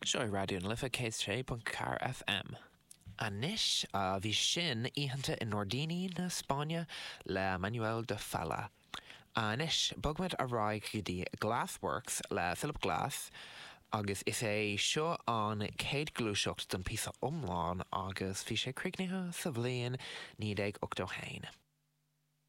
Seo é Raidió na Life 106.4 FM. Anois, bhí sin Oícheanta i nGairdíní na Spáinne le Manuel de Falla. Anois, bogfaimid ar aghaidh go dtí Glassworks le Philip Glass agus is é seo an chéad ghluaiseacht den phíosa iomlán agus bhí sé críochnaithe sa bhliain 1981.